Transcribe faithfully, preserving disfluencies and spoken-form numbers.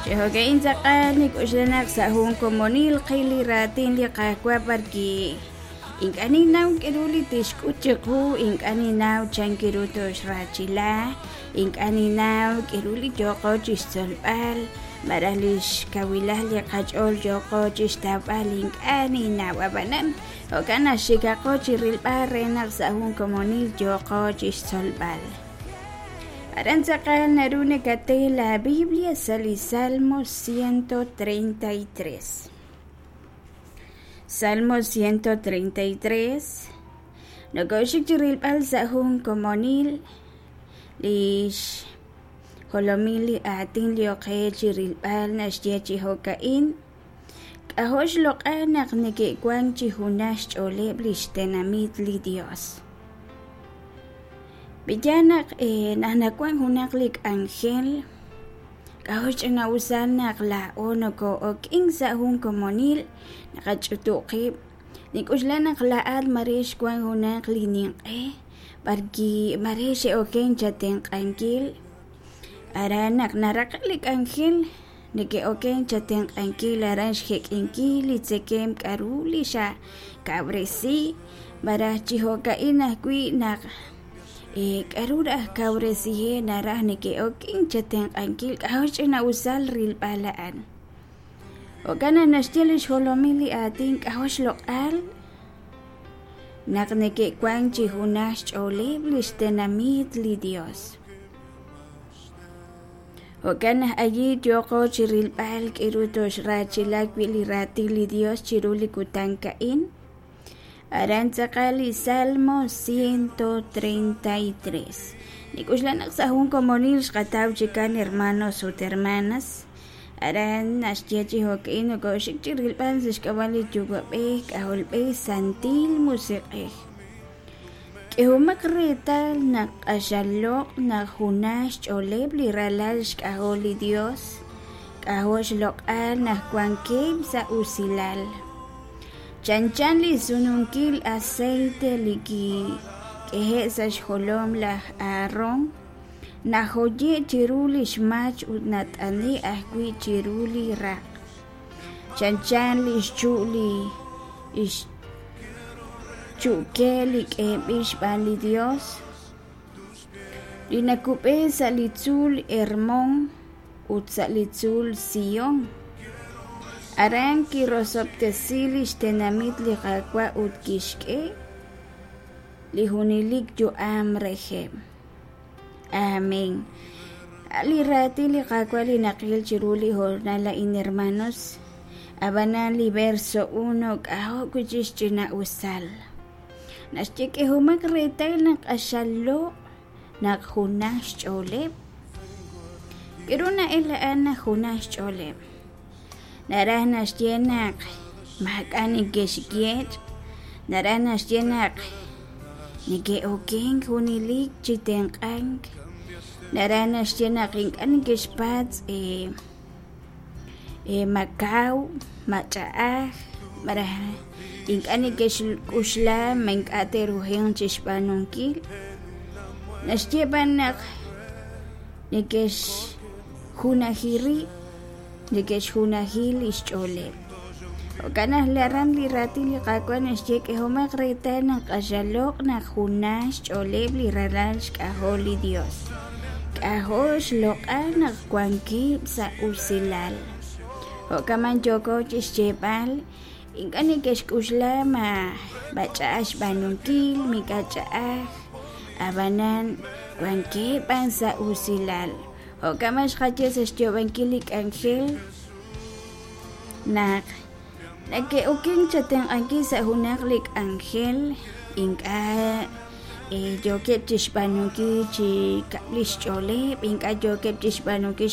Chi jo'ka'in tz'aqal nik'oxla naq sa' jun komonil qil li raatin li Qaawa' b'arwi' ink'a' ninnaw k'aru li tixk'ut chiqu, ink'a' ninnaw chan ru tooxraachila, ink'a' ninnaw k'aru li yooqo chi xtzolb'al malaj li xkawilal li qach'ool yooqo chi xtawb'al, ink'a' ninnaw. Ab'anan jo'kan naq xikaqo chi rilb'al re naq sa' jun komonil yooqo chi xtzolb'al. Aran tz'aqal naru nakate la Biblia sa' li Salmo ciento treinta y tres. Salmo ciento treinta y tres. Nokoxik chi rilb'al sa' jun komonil li xjolomil li aatin li oqe chi rilb'al naxye chi jo'ka'in: k'ajo' xloq'al naq neke'wank chi junaj xch'ooleb' li xtenamit li Dios. B'iyal naq, eh, naq nawank junaq li k'anjel, k'ajo' xch'ina'usal naq laa'o noko'ok'in sa' jun komonil naqach'utu' qib'. Nik'oxla naq laa'at mare xwank junaq li ninq'e b'arwi' mare xe'oken chatenq'ankil. Aran naq naraqe' li k'anjel neke'oken chatenq'ankil aran xjek'inkil li tzekemq k'aru li xakawresi malaj chi jo'ka'in ajwi' naq, eh, k'aru raj kawresiheb' naraj neke'oken chatenq'ankil. K'ajo' xch'ina'usal rilb'al a'an. Jo'kan naq naxye li xjolomil li aatin k'ajo' xloq'al naq neke'wank chi junaj xch'ooleb' li xtenamit li Dios. Jo'kan naq allí yooqo chi rilb'al k'aru toxraachila wi' li raatin li Dios chiru li kutan ka'in. Aran tz'aqal li Salmo ciento treinta y tres. Nik'oxla naq sa' jun komonil xqataw chikan hermanos ut hermanas. Aran naxye chi jo'ka'in nokoxik chi rilb'al sa' xk'ab'a' li Yuwa'b'ej, K'ajolb'ej, Santil Musiq'ej. K'ehomaq reetal naq q'axal loq' naq junaj xch'ooleb' li ralal xk'ajol li Dios, k'ajo' xloq'al naq wankeb' sa' usilal. Chanchan li sununkil aceite li kik'ehe' sa' xjolom laj Aarón, najoye' chiru li xmach ut nat'ane' ajwi' chiru li raq'. Chanchan li xchu' li xchu'ke li k'eeb'il xb'aan li Dios, li nakub'e sa' li tzuul Hermón ut sa' li tzuul Sion. Aran kirosob'tesi li xtenamit li Qaawa' ut kixk'e li junelik yu'am reheb'. Amén. Li raatin li Qaawa' li naqil chiru li hoonal a'in, hermanos, ab'anan li verso uno k'ajo' wi' chi xch'ina'usal. Naxye k'ehomaq reetal naq q'axal loq' naq junaj xch'ooleb'. K'aru na'el a'an naq junaj xch'ooleb'? Naraj naxye naq maak'a' neke'xyeech', naraj naxye naq neke'okenk junelik chi tenq'ank, naraj naxye naq ink'a' neke'xpatz', eh, eh, ma kaw, ma ch'a'aj, malaj ink'a' neke'xk'uxla ma ink'a' te'rujenq chi xb'aanunkil. Naxye b'an naq neke'xjunaji rib', neke'xjunaji li xch'ooleb'. Jo'kan naq aran li raatin li Qaawa' naxye k'ehomaq reetal naq q'axal loq' naq junaj xch'ooleb' li ralal xk'ajol li Dios. K'ajo' xloq'al naq wankeb' sa' usilal. Jo'kan man yooko chi xyeeb'al, ink'a' neke'xk'uxla ma ma ch'a'aj xb'aanunkil, ma ink'a' ch'a'aj, ab'anan wankeb' b'an sa' usilal. Jo'kan man xqaye sa' xyoob'ankil li k'anjel naq neke'oken chatenq'ankil sa' junaq li k'anjel, ink'a', eh, yookeb' chi xb'aanunkil chi kab'li xch'ooleb', ink'a' yookeb' chi xb'aanunkil